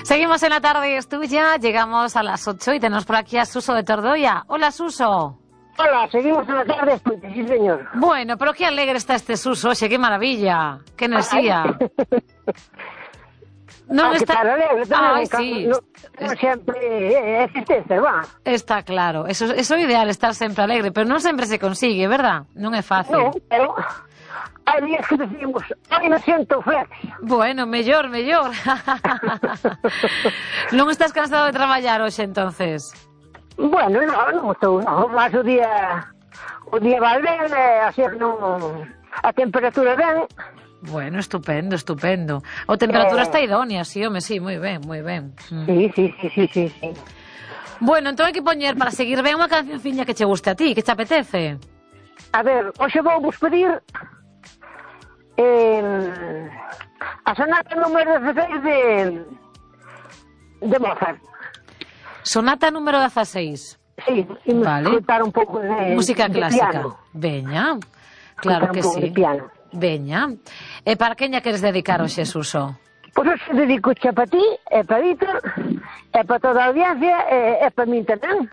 Seguimos en La Tarde es Tuya, llegamos a las 8 y tenemos por aquí a Suso de Tordoia. Hola, Suso. Hola, seguimos en La Tarde es Tuya, sí, señor. Bueno, pero qué alegre está este Suso, oxe, qué maravilla, qué enerxía. Non está... Claro, alegre, Ai, sí. Non sempre é tristeza, va. Está claro, eso é o ideal, estar sempre alegre, pero non sempre se consigue, verdad? Non é fácil. Non, pero hai días que decimos, ai, me siento flex. Bueno, mellor. Non estás cansado de traballar hoxe, entonces? Bueno, non estou, non, mas o día vai ben, así que non, a temperatura ben. Bueno, estupendo. O temperatura está idónea, sí, home, sí, moi ben. Sí. Bueno, entón hai que poñer para seguir ben unha cancionciña que che guste a ti, que te apetece. A ver, hoxe vou vos pedir a sonata número 16 de Mozart. Sonata número 16. Sí, imos vale. escutar un pouco de música clásica. Piano. Veña, claro que sí. Veña. E para queña queres dedicar hoxe, Suso? Pois hoxe dedico xa para ti, e para Víctor, e para toda a audiencia, e para min tamén.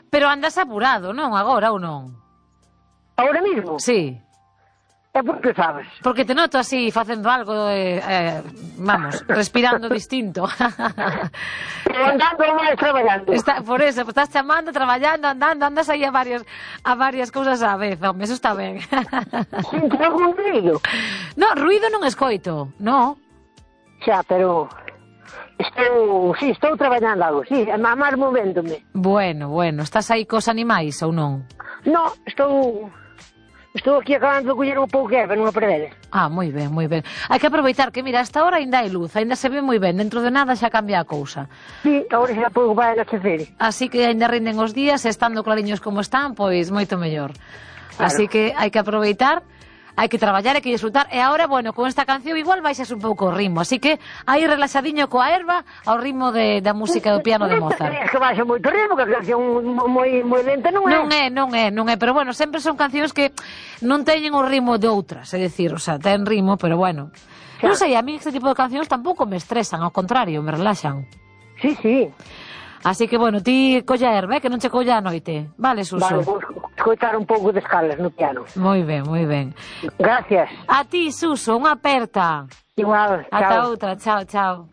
Pero andas apurado, non? Agora ou non? Ahora mismo? Sí. É porque sabes. Porque te noto así, facendo algo, vamos, respirando distinto. Andando máis traballando. Por eso, estás chamando, traballando, andando, andas aí a varias cousas á vez, home, eso está ben. Sinto algún ruido? No, ruido non escoito, no. Xa, pero estou traballando algo, sí, máis movéndome. Bueno, estás aí cos animais ou non? No, Estou aquí acabando de coller un pouco de erva nunha pradera. Ah, moi ben. Hai que aproveitar que, mira, hasta ahora ainda hai luz, ainda se ve moi ben, dentro de nada xa cambia a cousa. Sí, agora xa pouco vai anochecer. Así que ainda rinden os días, estando clariños como están, pois moito mellor. Claro. Así que hai que aproveitar, hai que traballar, hai que disfrutar. E agora, bueno, con esta canción igual baixas un pouco o ritmo, así que aí relaxadiño coa erva ao ritmo da música do piano de Mozart. É que baixa moito ritmo, que a canción moi lenta non é. Non é, pero bueno, sempre son cancións que non teñen o ritmo de outras, é dicir, o sea, ten ritmo, pero bueno. Non sei, a mí este tipo de cancións tampouco me estresan, ao contrario, me relaxan. Sí. Así que, bueno, ti colla erva, que non che colla a noite. Vale, Suso? Vale, vou escoitar un pouco de escalas no piano. Moi ben. Gracias. A ti, Suso, unha aperta. Igual, chao. Ata outra, chao.